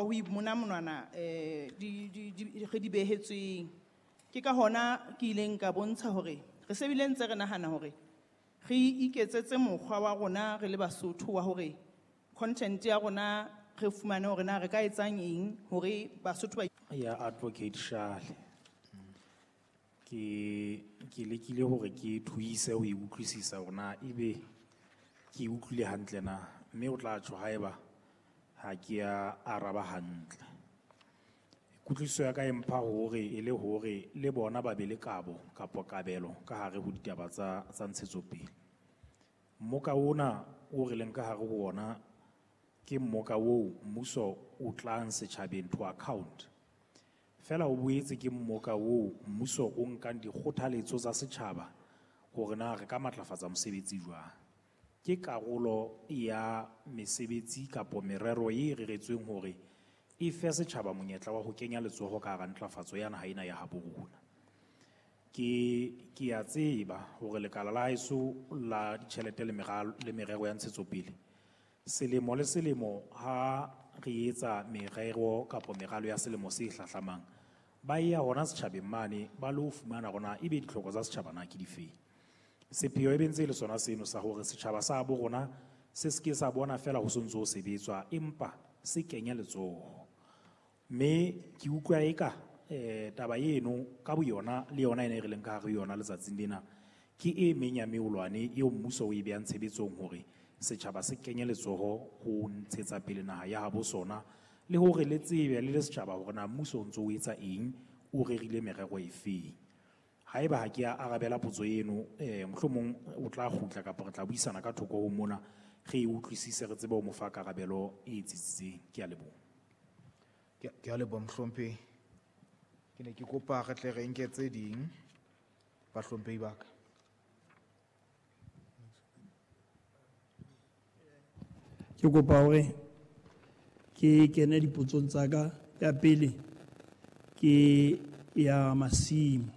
ho imona monwana di re di behetsweng. Ke ka hona ke ileng ka bontsha hore re se bile ntse re nahana hore re iketsetse mokgwa wa rona re le Basotho wa hore content ya rona re fumane hore na re ka etsang eng hore Basotho ba Ya Advocate Shale. Ke lekile hore ke thuise ho e utlwisisa hore na ebe ke e utlwile hantle na, mme o tla tjho haeba ha ke a araba hantle. Kutlwisiso ya ka e mpha hore e le hore le bona ba be le kabo kapa kabelo ka hare ho ditaba tsa ntshetsopele. Mmoka ona o re leng ka hare ho ona ke mmoka oo mmuso o tlang setjhabeng to account. Feela o boetse ke mmoka oo mmuso o nkang dikgothaletso tsa setjhaba hore na re ka matlafatsa mosebetsi jwang. Ke karolo ya mesebetsi kapo merero e reretsweng hore e fe setjhaba monyetla wa ho kenya letsoho ka hara ntlafatso ya naha ena ya habo rona. Ke a tseba hore lekala la heso la ditjhelete le meralo le merero ya ntshetsopele selemo le selemo ha re etsa merero kapa meralo ya selemo se hlahlamang, ba ya hona setjhabeng mane ba lo fumana hore na ebe ditlhoko tsa setjhaba na ke difeng. Sepheo e be ntse e le sona seno sa hore setjhaba sa bo rona se seke sa bona feela ho sontso ho sebetswa, empa se kenye letsoho. Mme ke utlwa eka taba eno ka boyona le yona ena e re leng ka hare ho yona letsatsing lena ke e meng ya meolwane eo mmuso o e behang tshebetsong hore setjhaba se kenye letsoho ho ntshetsa pele naha ya habo sona, le hore le tsebe le le setjhaba hore na mmuso o ntso o etsa eng, o rerile merero e feng. Haeba ha ke a arabela potso eno, mohlomong o tla kgutla kapa re tla buisana ka thoko ho mona, re e utlwisise re tsebe ho mo fa karabelo e tsitsitseng. Ke a leboha. Ke a leboha mohlomphehi. Ke ne ke kopa re tle re nke tse ding bahlomphehi ba ka. Ke kopa hore ke kene dipotsong tsa ka. Ya pele ke ya masimo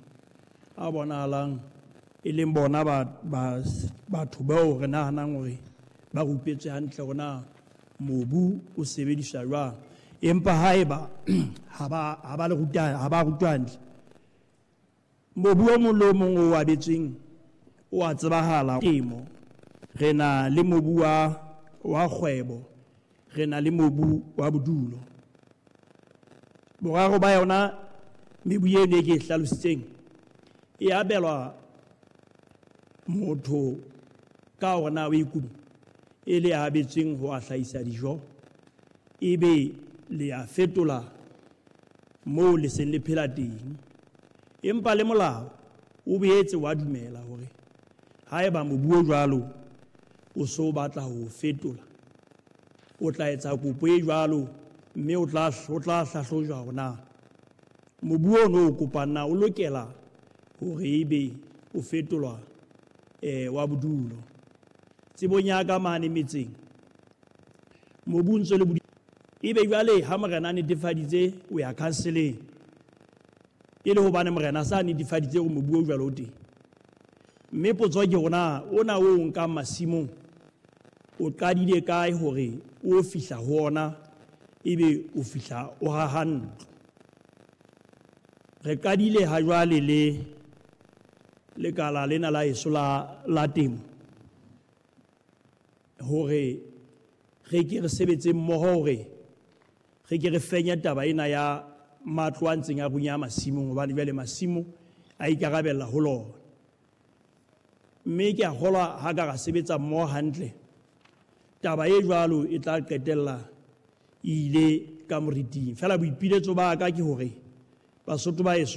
a bonahalang e leng bona batho bao re nahanang hore ba rupetswe hantle hore na mobu o sebediswa jwang, empa haeba ha ba le ruta, ha ba rutwa hantle, mobu o mong le o mong o abetsweng o a tsebahala. Temo, re na le mobu wa kgwebo, re na le mobu wa bodulo. Boraro ba yona mebu eno e ke e hlalositseng e abelwa motho ka hore na o ikutlwa e le a abetsweng ho a hlahisa dijo, ebe le a fetola moo le seng le phela teng. Empa le molao o boetse wa dumela hore haeba mobu o jwalo o so batla ho fetola, o tla etsa kopo e jwalo, mme o tla hlahlojwa hore na mobu ono o kopang na o lokela hore ebe o fetolwa wa bodulo. Tsebong ya ka mane metseng mobu o ntse le ebe jwale ha morena a netefaditse o ya councileng, e le hobane morena sa netefaditse hore mobu o jwalo o teng. Mme potso ke hore na ona o nkang masimong o qadile kae hore o fihla ho ona, ebe o fihla o haha ntlo. Re qadile ha jwale le lekala lena la heso la temo hore re ke re sebetse mmoho hore re ke re fenye taba ena ya matlo a ntseng a runya masimong, hobane jwale masimo a ikarabella ho lona. Mme ke a kgolwa ha ka ra sebetsa mmoho hantle, taba e jwalo e tla qetella e ile ka moriting. Feela boipiletso ba ka ke hore Basotho ba heso